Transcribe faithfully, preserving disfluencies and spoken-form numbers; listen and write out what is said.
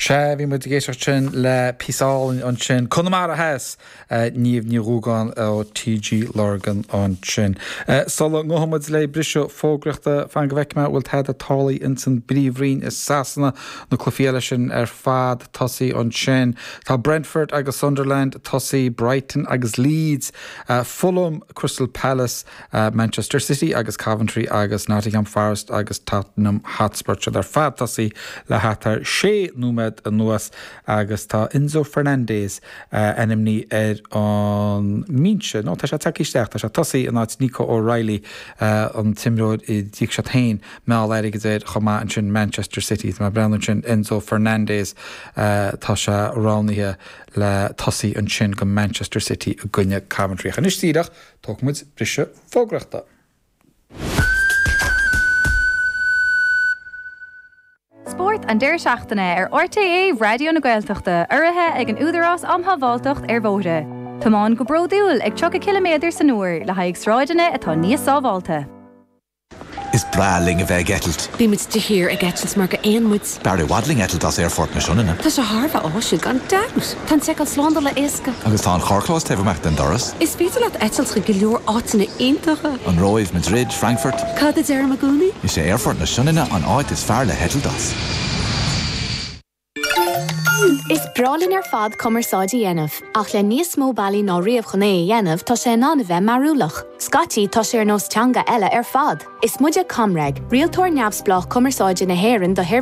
Sea bhí muid ag éisteacht sin le píosa álainn ansin Conamara Theas Niamh Ní Dhúgáin ó TG Lurgan ansin. Sula ngabhfaidh muid le briseadh fógraíochta fan go bhfeicfidh mé bhfuil tada tarlaithe insan bPríomhroinn i Sasana na cluichí eile sin ar fad tosaithe ansin. Tá Brentford agus Sunderland tosaithe Brighton agus Leeds, Fulham, Crystal Palace, Manchester City agus Coventry agus Nottingham Forest agus Tottenham Hotspur siad ar fad tosaithe le thart ar sé nóiméad anuas agus tá Enzo Fernandez ainmnithe ar an mbinse. No tá sé tagtha isteach tá sé tosaithe in áit Nico O'Reilly an t-imreoir a d'íoc siad féin meall airgid air chomh maith ansin Manchester City. Tá mé ag breathnú ansin Enzo Fernandez tá sé roghnaithe le tosaí ansin go Manchester City i gcoinne Coventry. Anois díreach tógfaidh muid briseadh fógraíochta. Spórt an deireadh seachtaine ar RTÉ Raidió na Gaeltachta, urraithe ag an Údarás um Shábháilteacht ar Bhóithre. Tiomáin go bródúil ag tríocha ciliméadar san uair le haghaidh sráideanna atá níos sábháilte. Is breá linn a bheith ag eitilt. Bímid de shíor ag eitilt mar gur éan muid. B'fhearr i bhfad linn eitilt as Aerfort na Sionainne. Tá sé thar a bheith áisiúil gan dabht. Tá an tseiceáil slándála éasca. Agus tá an carrchlós taobh amach den doras. Is féidir leat eitilt chuig go leor áiteanna iontacha. An Róimh, Madrid, Frankfurt. Cad a deirim i gcónaí? Is é Aerfort na Sionainne an áit is fearr le heitilt as. Is breá linn ar fad cumarsáid a dhéanamh, ach le níos mó bealaí ná riamh chun é a dhéanamh tá sé in ann a bheith mearúlach. Scaití tá sé ar nós teanga eile ar fad. Is muide ComReg, rialtóir neamhspleách cumarsáide na hÉireann do sheirbhísí